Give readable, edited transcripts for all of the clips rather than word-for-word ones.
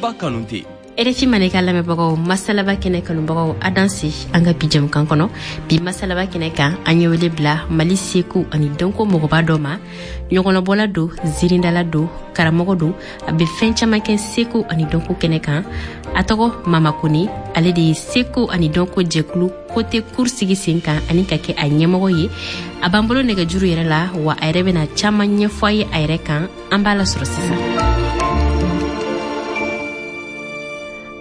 Masalaba Kanute. RFI Mandenkan lamɛnbagaw, Masalaba kɛnɛ kanubagaw, a danse an ka bi jɛmukan kɔnɔ. Bi Masalaba kɛnɛ kan, an ye wele bila Mali seko ani dɔnko mɔgɔba dɔ ma. Ɲɔgɔlɔnbɔla don, zirindala don, karamɔgɔ don, a bɛ fɛn caman kɛ seko ani dɔnko kɛnɛ kan. A tɔgɔ Mama Kone, ale de ye seko ani dɔnko jɛkulu Côté Cour sigi sen kan ani ka kɛ a ɲɛmɔgɔ ye. A b'an bolo nɛgɛjuru yɛrɛ la, wa a yɛrɛ bɛna caman ɲɛfɔ a ye a yɛrɛ kan. An b'a lasɔrɔ sisan.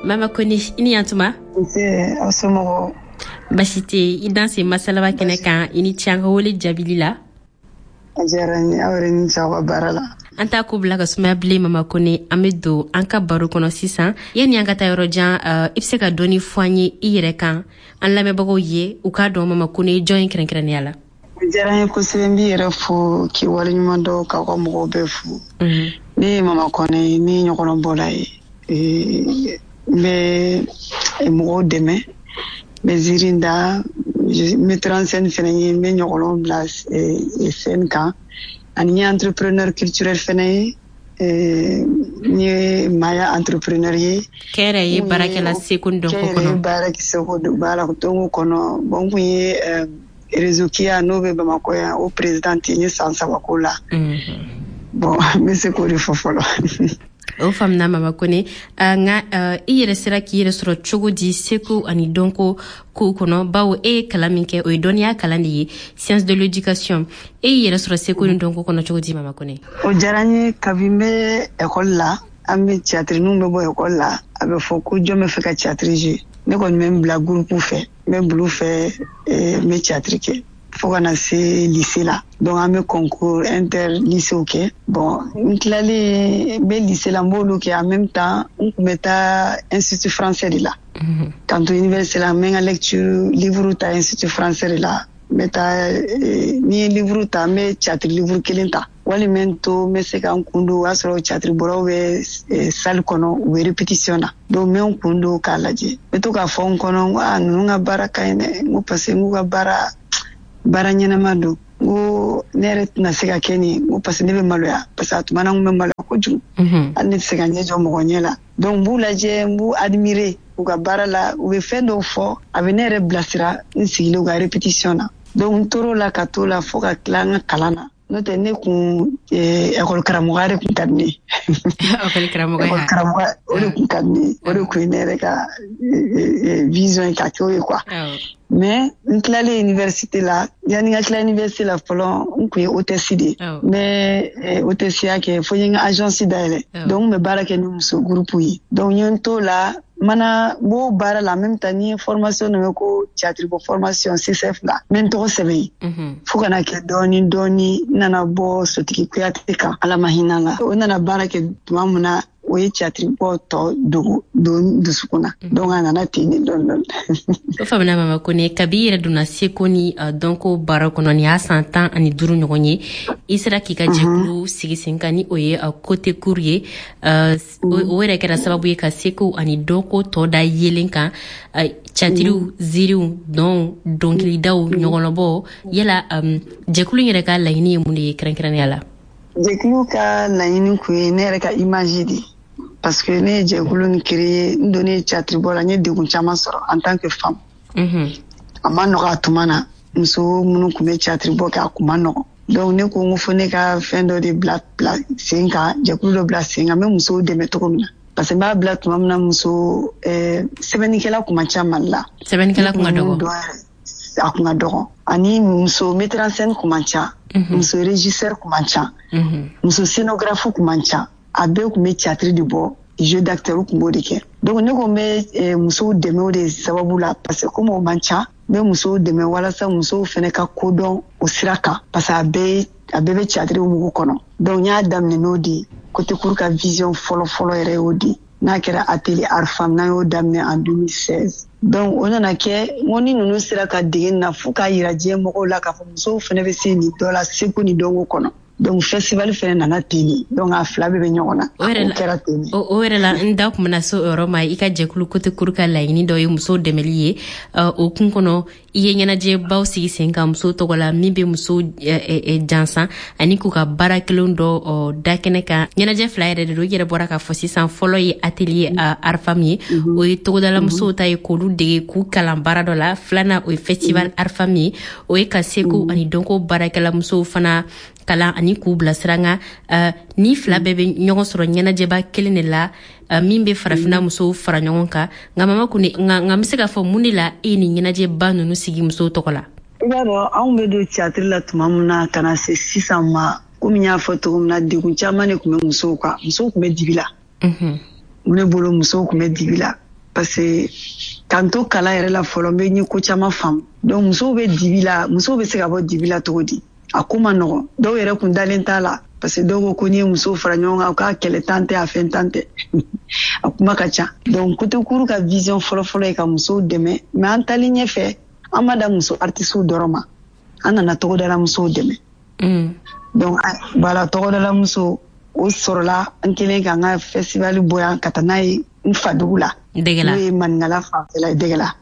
Mama Kone, i ni yantuma. Nse, aw somɔgɔw? Basi tɛ. I danse Masalaba kɛnɛ kan. I ni ce an ka wele jaabili la. A diyara n ye. Aw yɛrɛ ni ce aw ka baara la. An t'a ko bila ka sumaya bilen, Mama Kone. An bɛ don an ka baro kɔnɔ sisan. Yanni an ka taa yɔrɔ jan, i bɛ se ka dɔɔni fɔ an ye i yɛrɛ kan, an lamɛnbagaw ye u k'a dɔn Mama Kone ye jɔn ye kɛrɛnkɛrɛnnenya la? O diyara n ye kosɛbɛ. N b'i yɛrɛ fo k'i waleɲuman dɔn, k'aw ka mɔgɔw bɛɛ fo. Ne ye Mama Kone ye, ne ye ɲɔgɔlɔnbɔla ye. N bɛ mɔgɔw dɛmɛ, n bɛ ziiri da, metteur en scène fɛnɛ ye, n bɛ ɲɔgɔlɔn bila scène kan. Ani n ye entrepreneur culturel fɛnɛ ye. N ye maaya entrepreneur ye. Kɛnyɛrɛye baarakɛla seko ni dɔnko kɔnɔ. Kɛnyɛrɛye baara seko baara dɔnko kɔnɔ. Bon, n kun ye réseau KIA, n'o bɛ Bamakɔ yan, o présidente, n ye san 3 k'o la. Bon, n bɛ se k'o de fɔ fɔlɔ. O faamuna, Mama Kone. Nka i yɛrɛ sera k'i yɛrɛ sɔrɔ cogo di seko ani dɔnko kow kɔnɔ, bawo e ye kalan min kɛ, o ye dɔnniya kalan de ye, science de l'éducation? E y'i yɛrɛ sɔrɔ seko ni dɔnko kɔnɔ cogo di, Mama Kone? O diyara n ye. Kabi n bɛ ekɔli la, an bɛ théâtre, n'u bɛ bɔ ekɔli la, a bɛ fɔ ko jɔn bɛ fɛ ka théâtre jouer. Ne kɔni bɛ n bila groupe fɛ, n bɛ bila u fɛ, n bɛ théâtre kɛ fo ka na se lycée la. Donc an bɛ concours inter lycée kɛ. Bon, n tilalen, n bɛ lycée la, n b'olu kɛ. En même temps, n kun bɛ taa Institut français de la. K'an to université la, n bɛ n ka lecture livre ta Institut français de la. N bɛ taa, ni ye livre ta, n bɛ théâtre livre kelen ta, walima n to n bɛ se ka n kun don, o y'a sɔrɔ théâtre bɔlaw bɛ salle kɔnɔ, u bɛ répétition na. Donc n bɛ n kun don k'a lajɛ. N bɛ to k'a fɔ n kɔnɔ, n ko aa, ninnu ka baara ka ɲi dɛ, n ko parce que n k'u ka baara ɲɛnama don. N ko ne yɛrɛ tɛna se ka kɛ nin, n ko parce que ne bɛ maloya, parce que a tuma na n kun bɛ maloya kojugu, hali ne tɛ se ka ɲɛ jɔ mɔgɔ ɲɛ la. Donc n b'u lajɛ, n b'u admirer u ka baara la. U bɛ fɛn dɔw fɔ, a bɛ ne yɛrɛ bilasira n sigilen u ka répétition na. Donc n tor'o la ka t'o la fo ka tila n ka kalan na. N'o tɛ, ne kun école karamɔgɔya de kun ka di ne ye. École karamɔgɔya. École karamɔgɔya, o de kun ka di ne ye. O de kun ye ne yɛrɛ ka vision ye ka kɛ o ye quoi. Mais n tilalen université la, yanni n ka tila université la fɔlɔ, n kun ye hôtesse de ye. N bɛ hôtesse kɛ fo n ye n ka agence dayɛlɛ. Donc n bɛ baara kɛ ni muso groupe ye. Donc n ye n t'o la, mana n b'o baara la, en même temps ni ye formation dɔ bɛ ko théâtre bɔ formation CCF la, n bɛ n tɔgɔ sɛbɛn yen. Fo ka na kɛ dɔɔni dɔɔni, n nana bɔ Sotigi Kuyate kan, Ala ma hinɛ la. O nana baara kɛ tuma min na, o ye théâtre bɔ tɔ dogo don dusukun na. Donc a nana ten de dɔɔni dɔɔni. O faamuna, Mama Kone. Kabi i yɛrɛ donna seko ni dɔnko baara kɔnɔ, nin y'a san 15 ɲɔgɔn ye. I sera k'i ka jɛkulu sigi sen kan, ni o ye Côté Cour ye. O yɛrɛ kɛra sababu ye ka seko ani dɔnko tɔ da yelen kan, catiriw, ziriw, dɔnw, dɔnkilidaw, ɲɔgɔlɔnbɔ. Yala jɛkulu in yɛrɛ ka laɲini ye mun de ye kɛrɛnkɛrɛnnenya la? Jɛkulu ka laɲini kun ye ne yɛrɛ ka image de, parce que ne ye jɛkulu nin créer, n donnen théâtre bɔ la, n ye degun caman sɔrɔ en tant que femme. A ma nɔgɔ a tuma na, muso minnu kun bɛ théâtre bɔ kɛ, a kun ma nɔgɔ. Donc ne ko n ko fo ne ka fɛn dɔ de bila sen kan, jɛkulu dɔ bila sen kan, n bɛ musow dɛmɛ cogo min na. Parce que n b'a bila tuma min na, muso sɛbɛnnikɛla kun man ca Mali la. Sɛbɛnnikɛla kun ka dɔgɔ. A kun ka dɔgɔ. Ani muso metteur en scène kun man ca. Muso régisseur kun man ca. Muso scénographe kun man ca. A bɛɛ kun bɛ théâtre de bɔ, jeu d'acteur kun b'o de kɛ. Donc ne ko n bɛ musow dɛmɛ o de sababu la, parce que comme o man ca, n bɛ musow dɛmɛ walasa musow fɛnɛ ka kodɔn o sira kan, parce que a bɛɛ bɛ théâtre mugu kɔnɔ. Donc n y'a daminɛ n'o de ye. Côté Cour ka vision fɔlɔ fɔlɔ yɛrɛ y'o de ye. N'a kɛra atelier art femme, n'an y'o daminɛ en 2016. Donc o nana kɛ, n ko ni ninnu sera ka dege nin na fo k'a yira diɲɛ mɔgɔw la k'a fɔ musow fɛnɛ bɛ se nin dɔ la seko ni dɔnko kɔnɔ. Donc festival fɛnɛ nana ten de. Donc a fila bɛɛ bɛ ɲɔgɔn na. O kɛra ten de. O yɛrɛ la, n da kun bɛna se o yɔrɔ ma. I ka jɛkulu Kotekuru ka laɲini dɔ ye musow dɛmɛli ye. O kun kɔnɔ, i ye ɲɛnajɛbaw sigi sen kan musow tɔgɔ la, min bɛ musow jansan ani k'u ka baara kelen dɔ da kɛnɛ kan. Ɲɛnajɛ fila yɛrɛ de don, i yɛrɛ bɔra k'a fɔ sisan. Fɔlɔ ye atelier art femme ye, o ye togodala musow ta ye, k'olu dege, k'u kalan baara dɔ la. Filanan, o ye festival art femme ye, o ye ka seko ani dɔnko baarakɛla musow fana kalan ani k'u bilasira. Nka ni fila bɛɛ bɛ ɲɔgɔn sɔrɔ ɲɛnajɛba kelen de la, min bɛ Farafinna musow fara ɲɔgɔn kan. Nka Mama Kone, nka n bɛ se k'a fɔ mun de la e ye nin ɲɛnajɛba ninnu sigi musow tɔgɔ la? I b'a dɔn, anw bɛ don théâtre la tuma min na ka na se sisan ma, komi n y'a fɔ cogo min na, degun caman de tun bɛ musow kan. Musow tun bɛ dibi la. Ne bolo, musow tun bɛ dibi la parce que k'an to kalan yɛrɛ la fɔlɔ, n bɛ n ye ko caman faamu. Donc musow bɛ dibi la. Musow bɛ se ka bɔ dibi la cogo di? A ko ma nɔgɔn. Dɔw yɛrɛ kun dalen t'a la parce que dɔw ko ko n'i ye musow fara ɲɔgɔn kan, k'a kɛlɛ tan tɛ, a fɛn tan tɛ, a kuma ka ca. Donc Kotekuru ka vision fɔlɔfɔlɔ ye ka musow dɛmɛ. Mais an taalen ɲɛfɛ, an ma da muso artisiw dɔrɔn ma, an nana togodala musow dɛmɛ. Donc voilà, togodala muso o sɔrɔla an kelen k'an ka festival bɔ yan ka taa n'a ye n fadugu la, n'o ye Maninkala fanfɛla ye, Dɛgɛla.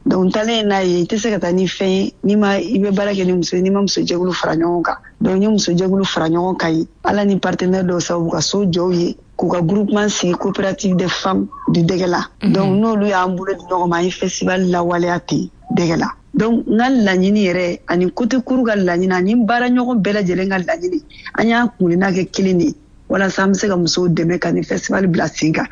Donc n taalen n'a ye, i tɛ se ka taa ni fɛn ye n'i ma i bɛ baara kɛ ni muso ye, n'i ma muso jɛkulu fara ɲɔgɔn kan. Donc n ye muso jɛkulu fara ɲɔgɔn kan ye, Ala ni partenaire dɔw sababu, ka so jɔw ye, k'u ka groupement sigi, Coopérative des femmes du Dɛgɛla. Donc n'olu y'an bolo di ɲɔgɔn ma, an ye festival lawaleya ten Dɛgɛla. Donc n ka laɲini yɛrɛ ani Kotekuru ka laɲini ani baara ɲɔgɔn bɛɛ lajɛlen ka laɲini, an y'a kunna kɛ kelen de ye walasa an bɛ se ka musow dɛmɛ ka nin festival bila sen kan.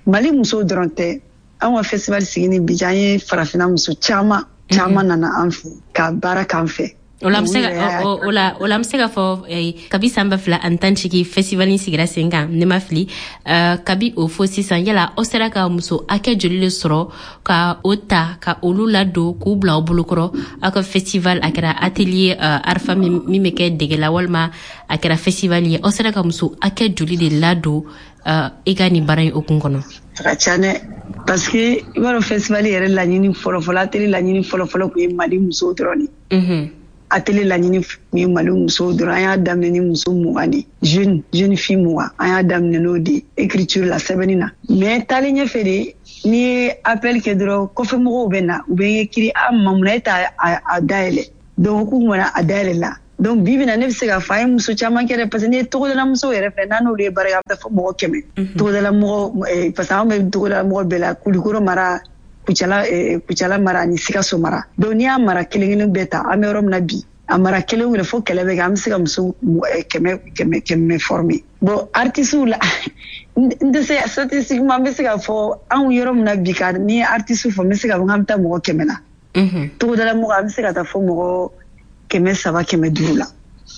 Mali musow dɔrɔn tɛ. An ka festival sigi ni bi, an ye Farafinna muso caman caman nana an fɛ ka baara k'an fɛ. O la, o la, an bɛ se ka fɔ kabi san 2018 festival in sigira sen kan, ne ma fili, kabi o fo sisan, yala aw sera ka muso hakɛ joli de sɔrɔ ka o ta, ka olu ladon, k'u bila aw bolokɔrɔ aw ka festival, a kɛra atelier art femme min bɛ kɛ Dɛgɛla walima a kɛra festival ye, aw sera ka muso hakɛ joli de ladon i ka nin baara in hukumu kɔnɔ? A ka ca dɛ, parce que i b'a dɔn, festival yɛrɛ laɲini fɔlɔfɔlɔ, atelier laɲini fɔlɔfɔlɔ tun ye Mali musow dɔrɔn de. Atelier laɲini tun ye Mali musow dɔrɔn. An y'a daminɛ ni muso 20 de, jeune fille 20. An y'a daminɛ n'o de écriture la, sɛbɛnni na. Mais taalen ɲɛfɛ de, n'i ye appel kɛ dɔrɔn, kɔfɛ mɔgɔw bɛ na, u bɛ écrit: a ma, mun na e t'a a dayɛlɛ? Donc k'u mana a dayɛlɛ la. Donc bi bi na, ne bɛ se k'a fɔ an ye muso caman kɛ dɛ, parce que n'i ye togodala musow yɛrɛ fɛ, n'an n'olu ye baara kɛ, a bɛ taa fɔ mɔgɔ 100 togodala mɔgɔ, parce que an bɛ togodala mɔgɔ bɛɛ la: Kulikoro mara, Kucala mara ani Sikaso mara. Donc n'i y'a mara kelen kelen bɛɛ ta, an bɛ yɔrɔ min na bi, a mara kelen kelen fo kɛlɛ bɛ kɛ, an bɛ se ka muso 100 100 100 former. Bon, artistes la, n tɛ se statistiquement, n bɛ se k'a fɔ anw yɔrɔ min na bi, ka n'i ye artiste fɔ, n bɛ se k'a fɔ k'an bɛ taa mɔgɔ 100 la. Togodala mɔgɔ, an bɛ se ka taa fɔ mɔgɔ 300, 500 la.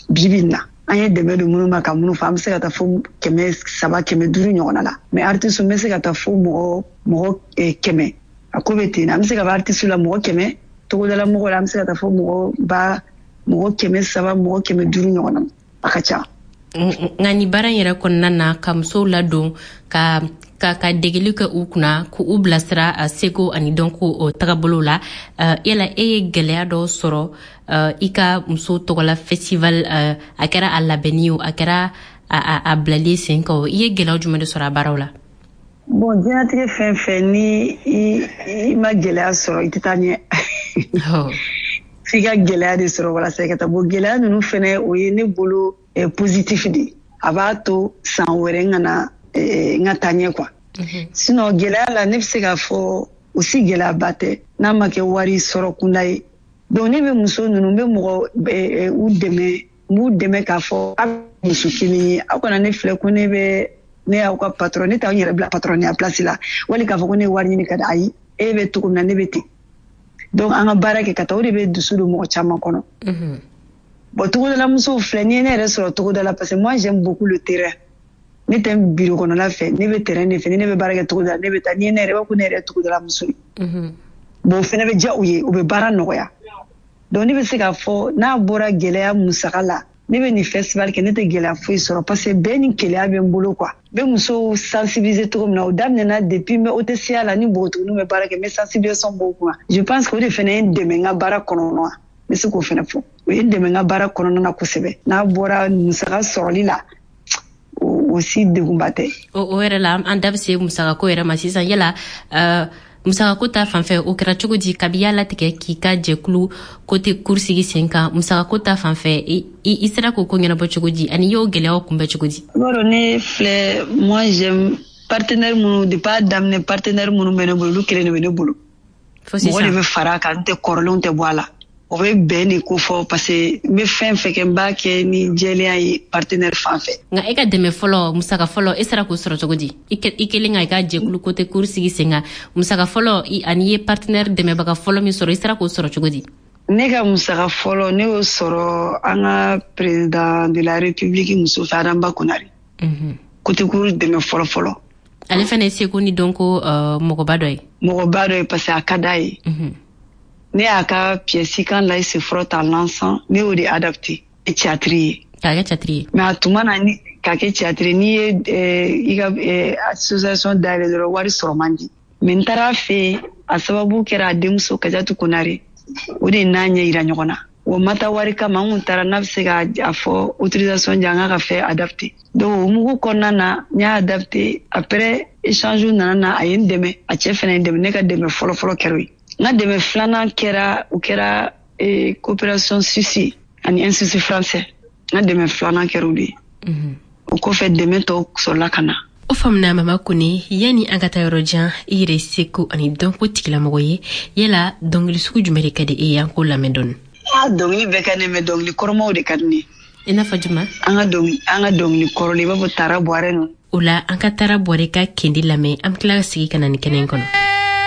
Bi bi in na, an ye dɛmɛ don minnu ma ka minnu fɔ, an bɛ se ka taa fo 300, 500 ɲɔgɔnna la. Mais artiste, n bɛ se ka taa fo mɔgɔ 100. A ko bɛ ten. An bɛ se ka fɔ artiste la mɔgɔ 100, togodala mɔgɔw la, an bɛ se ka taa fo mɔgɔ ba mɔgɔ 300, mɔgɔ 500 ɲɔgɔn na. A ka ca. Nka nin baara in yɛrɛ kɔnɔna na, ka musow ladon, ka degeli kɛ u kunna, k'u bilasira a seko ani dɔnko o tagabolo la, yala e ye gɛlɛya dɔ sɔrɔ i ka muso tɔgɔla festival, a kɛra a labɛnni o, a kɛra a bilali sen kan o, i ye gɛlɛya jumɛn de sɔrɔ a baaraw la? Bon, diɲɛlatigɛ fɛn fɛn, ni i ma gɛlɛya sɔrɔ, i tɛ taa ɲɛ. F'i ka gɛlɛya de sɔrɔ walasa i ka taa. Bon, gɛlɛya ninnu fɛnɛ, o ye ne bolo positif de, a b'a to san wɛrɛ n kana n ka taa ɲɛ quoi. Sinon gɛlɛya la, ne bɛ se k'a fɔ o si gɛlɛyaba tɛ n'a ma kɛ wari sɔrɔ kunda ye. Donc ne bɛ muso ninnu, n bɛ mɔgɔ u dɛmɛ, n b'u dɛmɛ k'a fɔ aw muso kelen ye, aw kana ne filɛ ko ne bɛ ne y'aw ka patron. Ne t'aw yɛrɛ bila patronniya place la wali k'a fɔ ko ne ye wari ɲini ka di. Ayi, e bɛ cogo min na, ne bɛ ten. Donc an ka baara kɛ ka taa, o de bɛ dusu don mɔgɔ caman kɔnɔ. Bon, togodala musow filɛ, n'i ye ne yɛrɛ sɔrɔ togoda la, parce que moi, j'aime beaucoup le terrain. Ne tɛ bureau kɔnɔla fɛ, ne bɛ terrain de fɛ. Ni ne bɛ baara kɛ togoda la, ne bɛ taa. N'i ye ne yɛrɛ, i b'a fɔ ko ne yɛrɛ ye togodala muso ye. Bon, o fɛnɛ bɛ diya u ye, u bɛ baara nɔgɔya. Donc ne bɛ se k'a fɔ n'a bɔra gɛlɛya musaka la, ne bɛ nin festival kɛ, ne tɛ gɛlɛya foyi sɔrɔ, parce que bɛɛ ni keleya bɛ n bolo quoi. N bɛ musow sensibiliser cogo min na, o daminɛna depuis n bɛ OTCA la, ni npogotigininw bɛ baara kɛ, n bɛ sensibilisation b'o kunna. Je pense que o de fɛnɛ ye n dɛmɛ n ka baara kɔnɔ. N bɛ se k'o fana fɔ. O ye n dɛmɛ n ka baara kɔnɔna na kosɛbɛ. N'a bɔra musaka sɔrɔli la, o si degunba tɛ. O yɛrɛ la, an da bɛ se musakako yɛrɛ ma sisan. Yala musakako ta fanfɛ, o kɛra cogo di kabi y'a latigɛ k'i ka jɛkulu Côté Cour sigi sen kan? Musakako ta fanfɛ, i sera k'o ko ɲɛnabɔ cogo di, ani i y'o gɛlɛyaw kunbɛ cogo di? I b'a dɔn, ne filɛ, moi j'aime partenaire minnu, depuis a daminɛ, partenaire minnu bɛ ne bolo, olu kelen de bɛ ne bolo. Mɔgɔ de bɛ fara a kan, n tɛ kɔrɔlenw tɛ bɔ a la. O bɛ bɛn de ko fɔ, parce que n bɛ fɛn fɛn kɛ, n b'a kɛ ni jɛlenya ye partenaire fan fɛ. Nka e ka dɛmɛ fɔlɔ, musaka fɔlɔ, e sera k'o sɔrɔ cogo di? I kelen ka i ka jɛkulu Côté Cour sigi sen kan, musaka fɔlɔ, ani i ye partenaire dɛmɛbaga fɔlɔ min sɔrɔ, i sera k'o sɔrɔ cogo di? Ne ka musaka fɔlɔ, ne y'o sɔrɔ an ka président de la République muso fɛ, Adama Konare. Côté Cour dɛmɛ fɔlɔ fɔlɔ. Ale fana ye seko ni dɔnko mɔgɔba dɔ ye. Mɔgɔba dɔ ye, parce que a ka d'a ye. Ne y'a ka pièce Quand l'ail se frotte à l'encens, ne y'o de adapté théâtre ye. K'a kɛ théâtre ye. Mais a tuma na, ni k'a kɛ théâtre, n'i ye i ka association dayɛlɛ dɔrɔn, wari sɔrɔ man di. Mais n taara a fɛ yen, a sababu kɛra a denmuso Kajatu Konare, o de n'a ɲɛ yira ɲɔgɔn na. O ma taa wari kama, n kun taara n'a bɛ se ka a fɔ autorisation di an ka fɛn adapté. Donc o mugu kɔnɔna na, n y'a adapté. Après, échange nana na, a ye n dɛmɛ, a cɛ fana ye n dɛmɛ. Ne ka dɛmɛ fɔlɔ fɔlɔ kɛra o ye. N ka dɛmɛ filanan kɛra, o kɛra coopération suisse ani Institut français. N ka dɛmɛ filanan kɛra o de ye. O kɔfɛ, dɛmɛ tɔw sɔrɔla ka na. O faamuna, Mama Kone. Yani an ka taa yɔrɔ jan, i yɛrɛ seko ani dɔnko tigilamɔgɔ ye. Yala dɔnkili sugu jumɛn de ka di e ye? An k'o lamɛn dɔɔni. Ah, dɔnkili bɛɛ ka di ne, mais dɔnkili kɔrɔmaw de ka di ne. I n'a fɔ jumɛn? An ka dɔnkili kɔrɔlen, i b'a fɔ Tara Buwarɛ ninnu. O la, an ka Tara Buwarɛ ka kendi lamɛn, an bɛ tila ka segin ka na nin kɛnɛ in kɔnɔ.